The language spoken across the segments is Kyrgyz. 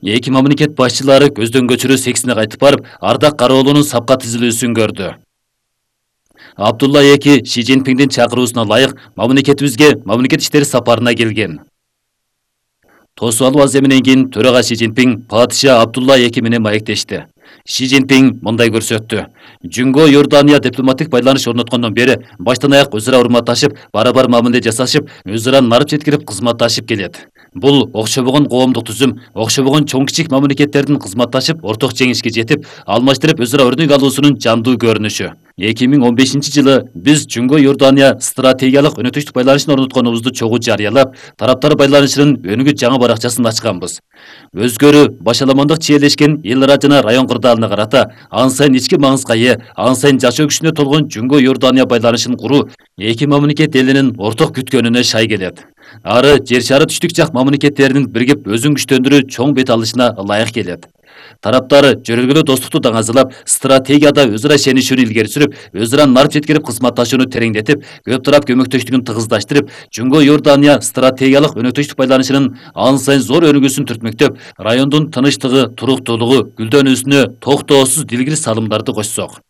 Эки мамлекет башчылары көздөн көчүрүү сексине кайтып барып, Ардак Кароолунун сапка тизилүүсүн көрдү. Абдулла эки Ши Цзиньпиндин чакыруусуна ылайык мамлекетибизге мамлекет иштери сапарына келген. Тосуп алуу аземинен кийин төрага Ши Цзиньпин падыша Абдулла эки менен маектешти. Ши Цзиньпин мындай көрсөттү. Жүнгө Иордания дипломатик байланыш орноткондон бери баштан аяк өзара урматташып, барабар мамиле жасашып, өзара нарып жеткирип кызматташып келет. Бул окшобогон коомдук түзүм, окшобогон чоң-кичик мамлекеттердин кызматташып, орток жеңишке жетип, алмаштырып өзара өрнөк алуусунун жандуу көрүнүшү. 2015-жылы биз Жүнгө Иордания стратегиялык өнөктөштүк байланышын орнотконубузду чогуу жарыялап, тараптар байланышынын өнүгүү жаңы баракчасын ачканбыз. Өзгөрүү башаламандык чиелешкен эл-ара жана район кырдаалына карата ан сайын ички маңызга ээ, ан сайын жашоо күчүнө толгон Жүнгө Иордания байланышын куруу эки мамлекет элинин орток күткөнүнө шай келет. Ары жер шары түштүк жак мамлекеттеринин биригип өзүн күчтөндүрүү чоң бет алышына ылайык келет. Тараптары жөрөлгөлүү достукту даңазалап, стратегияда өзара ишенишүүнү илгери сүрүп, өзара нарып жеткирип кызматташууну тереңдетип, көп тарап көмөктөштүгүн тыгыздаштырып, Жүнгө Иордания стратегиялык өнөктөштүк байланышынын ан сайын зор өнүгүүсүн түртмөктөп, райондун тынычтыгы, туруктуулугу, гүлдөнүүсүнө токтоосуз дилгири салымдарды кошсок.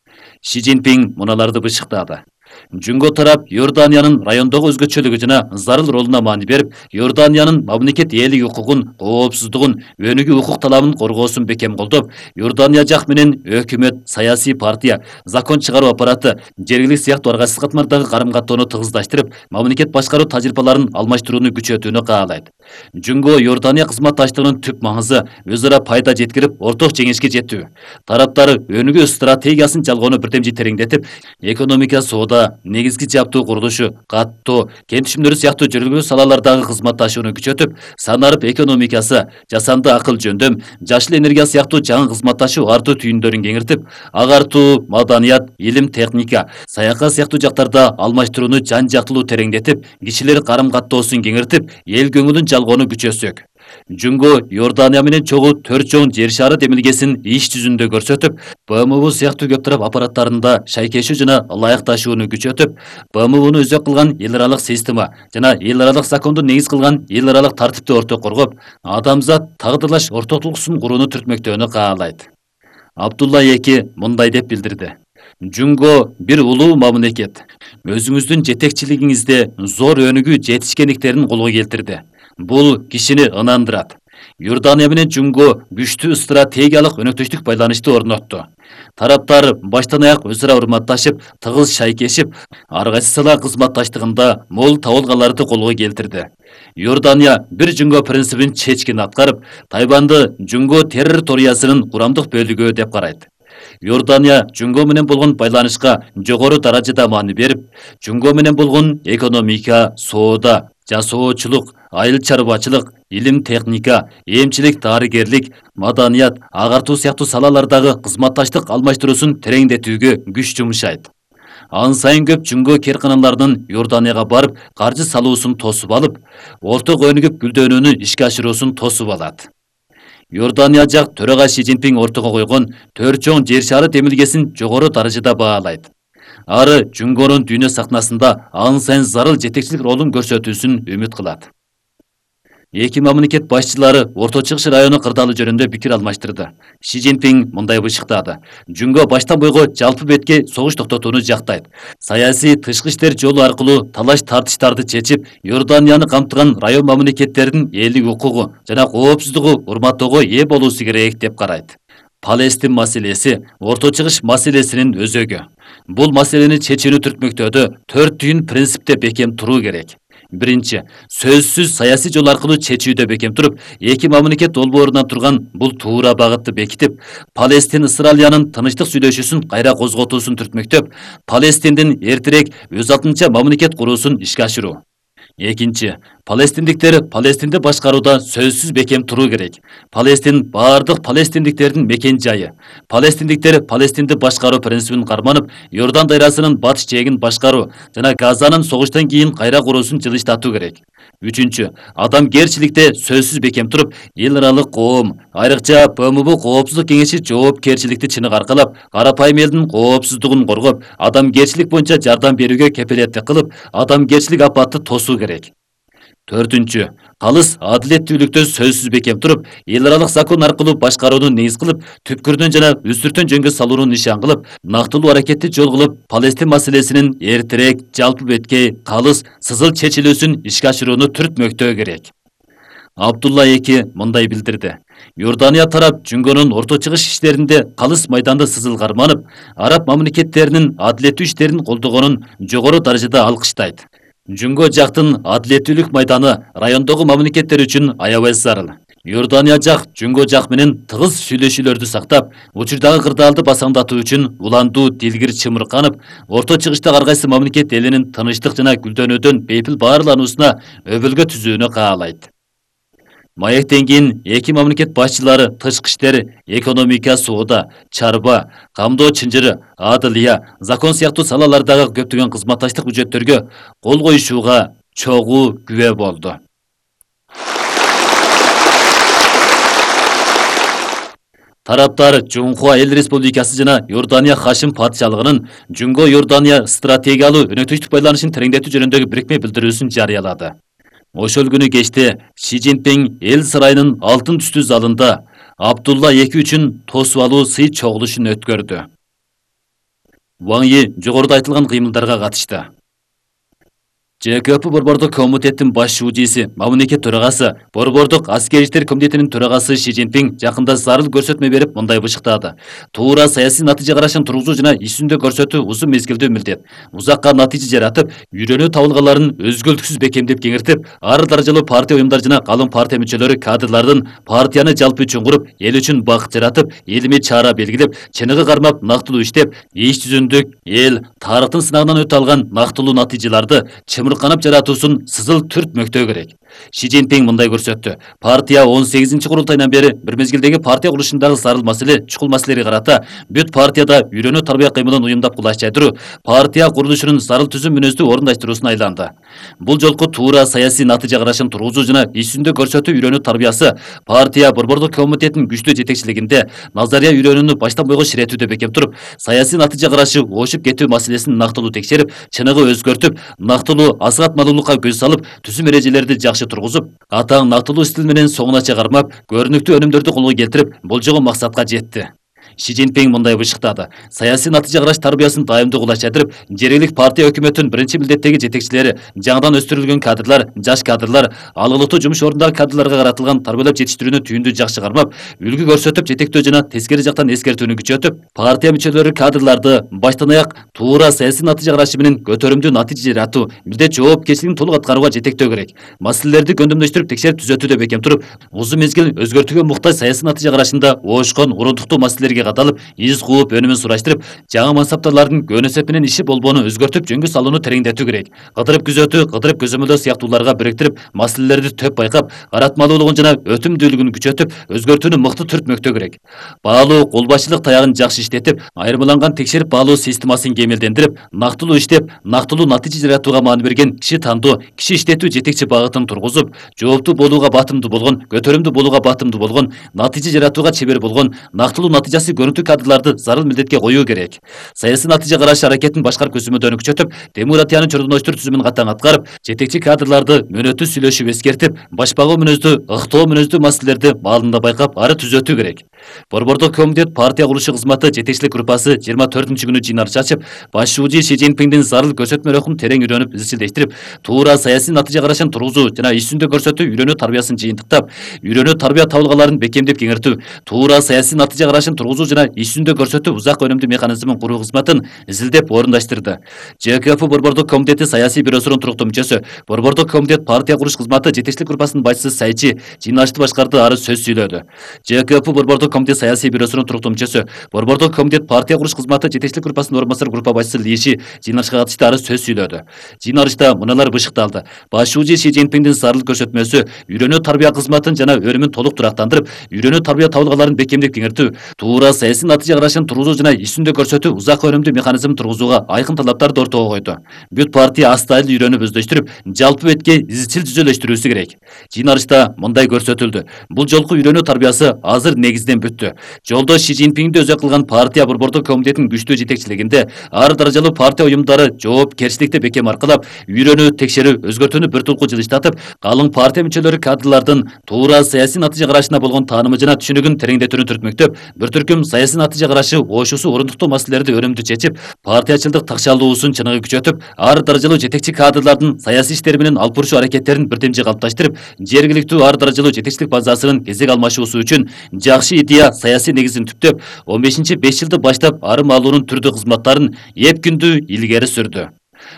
Ши Цзиньпин муналарды бышыктады. Жүнгө тарап Иорданиянын райондогу өзгөчөлүгү жана зарыл ролуна маани берип, Иорданиянын мамлекет ээлик укугун, коопсуздугун, өнүгүү укук талабын коргоосун бекем колдоп, Иордания жак менен өкмөт, саясий партия, закон чыгаруу аппараты, жергиликтүү сыяктуу аргасыз катмардагы карым-каттоону тыгыздаштырып, мамлекет башкаруу тажрыйбаларын алмаштырууну күчөтүүнү каалайт. Жүнгө Иордания кызматташтыгынын түп маңызы өзара пайда жеткирип, орток жеңишке жетүү. Тараптар өнүгүү стратегиясын жалгоону бирдемжи тереңдетип, экономика, соода, негизги жаптуу курулушу, каттоо, кен түшүмдөрү сыяктуу жөргөлүү салалардагы кызматташууну күчөтүп, санарып экономикасы, жасанды акыл жөндөм, жашыл энергия сыяктуу жаңы кызматташуу артуу түйүндөрүн кеңиртип, агартуу, маданият, илим, техника, саякат сыяктуу жактарда алмаштырууну жан-жактылуу тереңдетип, кишилер карым-каттоосун кеңиртип, эл көңүлүн жалгоону күчөтсөк. Жүнгө Иордания менен чогуу 4 чоң жер шары демилгесин иш жүзүндө көрсөтүп, БМУ сыяктуу көп тарап аппараттарында шайкешүү жана ылайыкташууну күчөтүп, БМУну өзөк кылган эл аралык система жана эл аралык законду негиз кылган эл аралык тартипти орток коргоп, адамзат тагдырлаш ортоктулуксун курууну түртмөктөөнү каалайт. Абдулла эки мындай деп билдирди. Жүнгө бир улуу мамлекет. Өзүңүздүн жетекчилигиңизде зор өнүгүү жетишкендиктерин колго келтирди. Бул кишини ынандырат. Иордания менен Жүнгө күчтүү стратегиялык өнөктөштүк байланышты орнотту. Тараптар баштан аяк өзара урматташып, тыгыз шайкешип, ар кайсы сала кызматташтыгында мол табылгаларды колго келтирди. Иордания бир Жүнгө принцибин чечкин аткарып, Тайванды Жүнгө территориясынын курамдык бөлүгү деп карайт. Иордания Жүнгө менен болгон байланышка жогору даражада маани берип, Жүнгө менен болгон экономика, соода, жасоочулук, айыл чарбачылык, илим, техника, эмчилик, дарыгерлик, маданият, агартуу сыяктуу салалардагы кызматташтык алмаштыруусун тереңдетүүгө күч жумшайт. Ан сайын көп Жүнгө керканаларынын Иорданияга барып, каржы салуусун тосуп алып, орток өнүгүп гүлдөнүүнү ишке ашыруусун тосуп алат. Иордания жак төрага Ши Цзиньпин ортого койгон 4 чоң жер шары демилгесин жогору даражада баалайт. Ары Жүнгөнүн дүйнө сахнасында ан сайын зарыл жетекчилик ролун көрсөтүүсүн үмүт кылат. Эки мамлекет башчылары Орто Чыгыш району кырдаалы жөнүндө пикир алмаштырды. Ши Цзиньпин мындай бышыктады. Жүнгө баштан бойго жалпы бетке согуш токтотууну жактайт. Саясий тышкы иштер жолу аркылуу талаш-тартыштарды чечип, Иорданияны камтыган район мамлекеттердин элдик укугу жана коопсуздугу урматтоого ээ болуусу керек деп карайт. Палестин маселеси Орто Чыгыш маселесинин өзөгү. Бул маселени чечүүнү түртмөктөөдө 4 түйүн принципте бекем туруу керек. Биринчи, сөзсүз саясий жол аркылуу чечүүдө бекем туруп, эки мамлекет долбоорунан турган бул туура багытты бекитип, Палестин-Израилянын тынычтык сүйлөшүүсүн кайра козготуусун түртмөктөп, Палестиндин эртерээк өз атынча мамлекет куруусун ишке ашыруу. Экинчи, палестиндиктер Палестинди башкарууда сөзсүз бекем туруу керек. Палестин бардык палестиндиктердин мекен жайы. Палестиндиктер Палестинди башкаруу принцибин карманып, Иордан дайрасынын батыш жээгин башкаруу жана Газанын согуштан кийин кайра куруусун жылыштатуу керек. Үчүнчү, адамгерчиликте сөзсүз бекем туруп, эл аралык коом, айрыкча БМУ Коопсуздук кеңеши жоопкерчиликти чыныгы аркалап, карапайым элдин коопсуздугун коргоп, адамгерчилик боюнча жардам берүүгө кепилеттик кылып, адамгерчилик апатты тосуу керек. 4. Калыс адилеттүүлүктө сөзсүз бекем туруп, эл аралык закон аркылуу башкарууну негиз кылып, түпкүрдөн жана үстүртөн жөнгө салууну нишан кылып, нактылуу аракетти жол кылып, Палестин маселесинин эртерээк жалпы беткей, калыс, сызыл чечилүүсүн ишке ашырууну түртмөктөө керек. Абдулла эки мындай билдирди. Иордания тарап Жүнгөнүн орто чыгыш иштеринде калыс майданды сызыл карманып, араб мамлекеттеринин адилеттүү иштерин колдогонун жогору даражада алкыштайт. Жүнгө жактын адилеттүүлүк майданы райондогу мамлекеттер үчүн аябай зарыл. Иордания жак Жүнгө жак менен тыгыз сүйлөшүүлөрдү сактап, учурдагы кырдаалды басаңдатуу үчүн уландуу дилгир чымырканып, орто чыгышта ар кайсы мамлекет элинин тынычтык жана гүлдөнүүдөн бейпил баарлануусуна өбөлгө түзүүнү каалайт. Маектен кийин эки мамлекет башчылары тышкы иштер, экономика, соода, чарба, камдоо чынжыры, адылия, закон сыяктуу салалардагы көптөгөн кызматташтык бүжөттөргө кол коюшууга чогуу күбө болду. Тараптар Жунхуа Эл Республикасы жана Иордания Хашим патшалыгынын Жүнгө Иордания стратегиялуу өнөктүштүк байланышын тереңдетүү жөнүндөгү бирикме билдирүүсүн жарыялады. Ошол күнү кечте Ши Цзиньпин эл сарайынын алтын түстүү залында Абдулла эки үчүн тосуп алуу сый чогулушун өткөрдү. Ван Йи жогоруда айтылган кыймылдарга катышты. ЖКП Борбордук комитеттин баш шүүжиси, мамлекет төрагасы, Борбордук аскер иштер комитетинин төрагасы Ши Цзиньпин жакында зарыл көрсөтмө берип мындай бышыктады. Туура саясий натыйжа карашын тургузуу жана иш жүзүндө көрсөтүү узун мезгилдүү милдет. Узакка натыйжа жаратып, үйрөнүү табылгаларын өзгөлтүксүз бекемдеп кеңиртип, ар даражалуу партия уюмдар жана калың партия мүчөлөрү кадрлардын партияны жалпы үчүн куруп, эл үчүн бакыт жаратып, илимий чара белгилеп, чыныгы кармап, нактылуу иштеп, иш жүзүндүк эл тарыхтын сынагынан өтө алган нактылуу натыйжаларды чымырканып жаратуусун сызыл түртмөктөө керек. Ши Цзиньпин мындай көрсөттү. Партия 18-курултайынан бери бир мезгилдеги партия курулушундагы зарыл маселе, чукул маселелерге карата бүт партияда үйрөнүү тарбия кыймылын уюмдап кулаш жайдыруу партия курулушунун зарыл түзүм мүнөздүү орундаштыруусуна айланды. Бул жолку туура саясий натыйжа карашын тургузуу жана иш жүзүндө көрсөтүү үйрөнүү тарбиясы партия Борбордук комитетинин күчтүү жетекчилигинде назария үйрөнүүнү баштан бойго ширетүүдө бекем туруп, саясий натыйжа карашы ошуп кетүү маселесин нактылуу текшерип, чыныгы өзгөртүп, нактылуу асыгатмалуулукка көз салып, түзүм эрежелерди жакшы тургузуп, атаң нактылуу стил менен соңунача кармап, көрүнүктүү өнүмдөрдү колго келтирип, болжогон максатка жетти. Ши Цзиньпин мындай бышыктады. Саясий натыйжа караш тарбиясын дайымдуу кулаш жайдырып, жергилик партия өкмөтүнүн биринчи милдеттеги жетекчилери, жаңыдан өстүрүлгөн кадрлар, жаш кадрлар, алгылыктуу жумуш ордундагы кадрларга каратылган тарбиялап жетиштирүүнү түйүндүү жакшы кармап, үлгү көрсөтүп, жетектөө жана тескери жактан эскертүүнү күчөтүп, партия мүчөлөрү кадрларды баштан аяк туура саясий натыйжа карашы менен көтөрүмдүү натыйжа жаратуу, милдет жоопкерчилигин толук аткарууга жетектөө керек. Маселелерди көндөмдөштүрүп, текшерип түзөтүүдө бекем туруп, узун мезгил өзгөртүүгө муктаж саясий натыйжа карашында оошкон, урундуктуу маселелерге каталып, из кууп, өнүмүн сураштырып, жаңы мансаптарлардын көнөсөп менен иши болбоону өзгөртүп, жөнгө салууну тереңдетүү керек. Кыдырып күзөтүү, кыдырып көзөмөлдөө сыяктууларга бириктирип, маселелерди төп байкап, каратмалуулугун жана өтүмдүүлүгүн күчөтүп, өзгөртүүнү мыкты түртмөктөө керек. Баалуу кол башчылык таягын жакшы иштетип, айырмаланган текшерип баалоо системасын кемелдендирип, нактылуу иштеп, нактылуу натыйжа жаратууга маани берген киши тандоо, киши иштетүү жетекчи багытын тургузуп, жооптуу болууга батымдуу болгон, көтөрүмдүү болууга батымдуу болгон, натыйжа жаратууга чебер болгон, нактылуу натыйжасы көрүнүктүү кадрларды зарыл милдетке коюу керек. Саясий натыйжа караш аракетин башкарып көзөмөлдөөнү күчөтүп, демократиянын чордоноштур түзүмүн катаң аткарып, жетекчи кадрларды мөөнөттүү сүйлөшүп эскертип, башпагуу мүнөздүү, ыктоо мүнөздүү маселелерди маалында байкап, ары түзөтүү керек. Борбордук комитет партия курулушу кызматы жетекчилик группасы 24-күнү жыйналыш ачып, баш шүүжи Ши Цзиньпиндин зарыл көрсөтмө өрөкүн терең үйрөнүп, изчилдештирип, туура саясий натыйжа карашын тургузуу жана иш жүзүндө көрсөтүү үйрөнүү тарбиясын жыйынтыктап, үйрөнүү тарбия табылгаларын бекемдеп кеңиртүү, туура саясий натыйжа карашын тургузуу жана иш жүзүндө көрсөтүү узак өнүмдүү механизмин куруу кызматын изилдеп орундаштырды. ЖКП Борбордук комитети саясий бюросунун туруктуу мүчөсү, Борбордук комитет партия куруш кызматы жетекчилик группасынын башчысы Сайчи жыйналышты башкарды, ары сөз сүйлөдү. ЖКП Борбордук комитет саясий бюросунун туруктуу мүчөсү, Борбордук комитет партия куруш кызматы жетекчилик группасынын орун басар группа башчысы Лиши жыйналышка катышты, ары сөз сүйлөдү. Жыйналышта мыналар бышыкталды. Баш шүүжи Ши Цзиньпиндин зарыл көрсөтмөсү үйрөнүү тарбия кызматын жана өнүмүн толук турактандырып, үйрөнүү тарбия табылгаларын бекемдеп кеңиртүү, туура туура саясий натыйжа карашын тургузуу жана иш-жүзүндө көрсөтүү узак өнүмдүү механизмин тургузууга айкын талаптарды ортого койду. Бүт партия астайыл үйрөнүп өздөштүрүп, жалпы бетке изчил түзөлөштүрүүсү керек. Жыйналышта мындай көрсөтүлдү. Бул жолку үйрөнүү тарбиясы азыр негизден бүттү. Жолдош Си Цзиньпинди өзөк кылган партия борбордук комитетинин күчтүү жетекчилигинде ар даражалуу партия уюмдары жоопкерчиликти бекем аркылап, үйрөнүү, текшерүү, өзгөртүүнү бир тулку жылыштатып, калың партия мүчөлөрү кадрлардын туура саясий натыйжа карашына болгон таанымы жана түшүнүгүн тереңдетүүнү түртмөктөп, бир түркүм саясий натыйжа карашы ошусу орундуктуу маселелерди өнүмдүү чечип, партиячылдык такшалуусун чыныгы күчөтүп, ар даражалуу жетекчи кадрлардын саясий иштер менен алып бурушуу аракеттерин бирдемжи калыпташтырып, жергиликтүү ар даражалуу жетекчилик базасынын кезек алмашуусу үчүн жакшы идея саясий негизин түптөп, 15-5 жылды баштап арым алуунун түрдүү кызматтарын эп күндүү илгери сүрдү.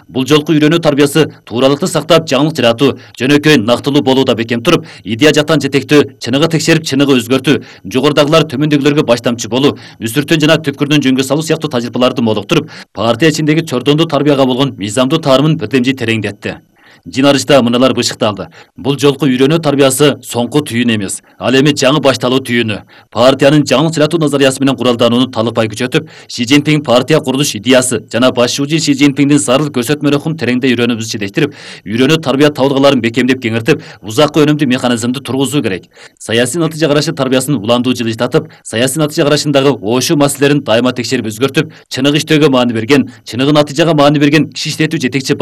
Бул жолку үйрөнүү тарбиясы тууралыкты сактап, жаңылык жаратуу, жөнөкөй нактылуу болууда бекем туруп, идея жактан жетектөө, чыныгы текшерип, чыныгы өзгөртүү, жогорудагылар төмөндөгүлөргө баштамчы болуу, үстүртөн жана түпкүрдөн жөнгө салуу сыяктуу тажрыйбаларды молуктуруп, партия ичиндеги чордондуу тарбияга болгон мыйзамдуу таарымын бирдемжи тереңдетти. Жыйналышта мыналар бышыкталды. Бул жолку үйрөнүү тарбиясы соңку түйүн эмес, ал эми жаңы башталуу түйүнү. Партиянын жаңылык жаратуу назариясы менен куралданууну талыкпай күчөтүп, Си Цзиньпин партия курулуш идеясы жана башчуучу Си Цзиньпиндин зарыл көрсөтмө рухун тереңдей үйрөнүүбүздү жетештирип, үйрөнүү тарбия табылгаларын бекемдеп кеңиртип, узакка өнүмдүү механизмди тургузуу керек. Саясий натыйжа карашы тарбиясын уландуу жылыштатып, саясий натыйжа карашындагы ошуу маселелерин дайыма текшерип өзгөртүп, чыныгы иштөөгө маани берген, чыныгы натыйжага маани берген киши иштетүү жетекчи